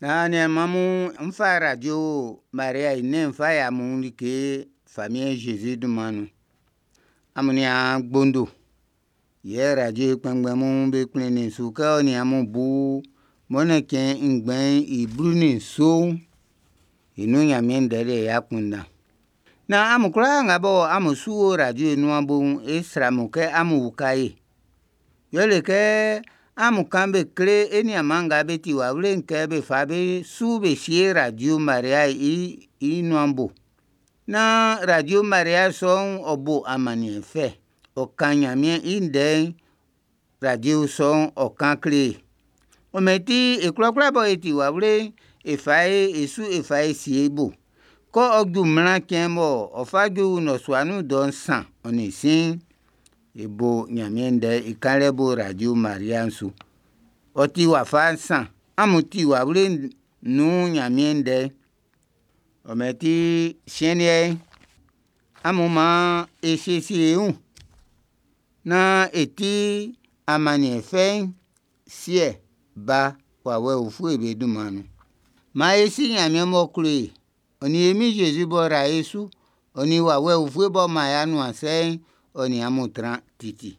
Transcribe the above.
Naan aniaan mun, n fa Radio Maria i nɛn'n n fa yi amun like Famiɛn Zezi dunman nun. Amun nian gbondo, yɛ radio i kpɛnngbɛn mun be kplinnin su kɛ ɔ nin amun bu Mɔnnɛn cɛn ngbɛn'n i 17 i nun Ɲanmiɛn ndɛ'n i akunndan. Naan amun kwlaa nga bɔ amun su o radio i nuan bo'n, e srɛ amun kɛ amun uka e. Yɛle kɛ amun kan be kle e niaanman nga be ti wawle'n kɛ be fa be su be sie Radio Maria i i nuan bo. Naan Radio Maria sɔ'n ɔ bo amanniɛn fɛ, ɔ kan Ɲanmiɛn i ndɛ'n radio sɔ'n ɔ kan kle e. Ɔ mɛn ti e kwlakwla bɔ e ti wawle'n, e fa e su e fa e sie i bo. Kɛ ɔ ju mlan cɛn bɔ ɔ fa ju nnɔsua nun dɔ 3:15, e bo Ɲanmiɛn ndɛ'n i kanlɛ bo Radio Maria'n su. Ɔ ti wafa nsan, amun ti wawle nun Ɲanmiɛn ndɛ'n. Ɔ mɛn ti siɛn liɛ'n, amun maan e siesie e wun naan e ti amanniɛn fɛ'n Siɛ, Ba, Wawɛ Ufue be dunman nun. Maan e si Ɲanmiɛn m'ɔ klo e, ɔ nin e Min Zezi b'ɔ ra e su, ɔ nin Wawɛ Ufue b'ɔ man e anuansɛ'n, ɔ nin amun tran titi.